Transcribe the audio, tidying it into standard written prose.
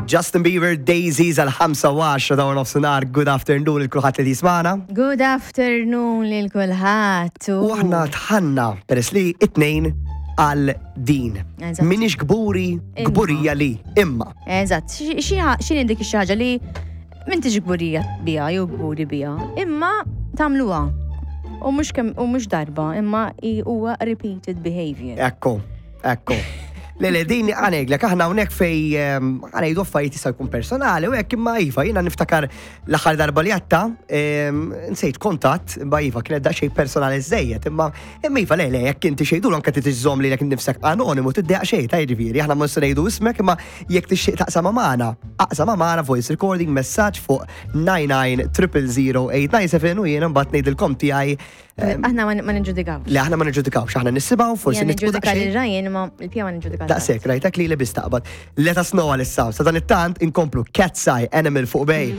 Justin Bieber, Daisies għal 5 u 10 ta' nofsinhar. Good afternoon lil kulħadd li jismana. Good afternoon lil kulħadd. U aħna tħanna peress li it-tnejn għal din. Eżatt. Minix kburi, Imma. kburija li, imma. Eżatt, x'inhi dik ix ħaġa li m'intix kburija biha jew kburi biha, imma tagħmluha. U mhux kemm u mhux darba, imma i- huwa repeated behavior. Ekku, ekku. Le, le, din għaneglek, aħna hawnhekk fej ehm, għanejdu affarijiet jista' jkun personali u hekk imma iva, jiena niftakar l-aħħar darba li għatta, ehm, nsejt kontatt, imma iva kienet daqsxejn personali żejjed, imma imma iva le, le, jekk inti xejdu anke titiżżomm lilek innifsek anonimu tiddejaq xejn ta' jiġifieri, aħna ma se ngħidu ismek imma jekk tixtieq taqsam magħna, aqsam magħna voice recording messaġġ fuq 99 000 u jiena mbagħad ngħidilkom tiegħi Aħna ma ma niġġudikawx. Li aħna ma niġġudikawx, aħna nisimgħu, forsi Jien nitqu niġġudika daqsxejn. lil Ryan imma il-pija ma niġġudika. Daqshekk, rajtek li li biss taqbad. Let us know għalissa. Sa dan it-tant inkomplu Cat's Eye Animal fuq Bay.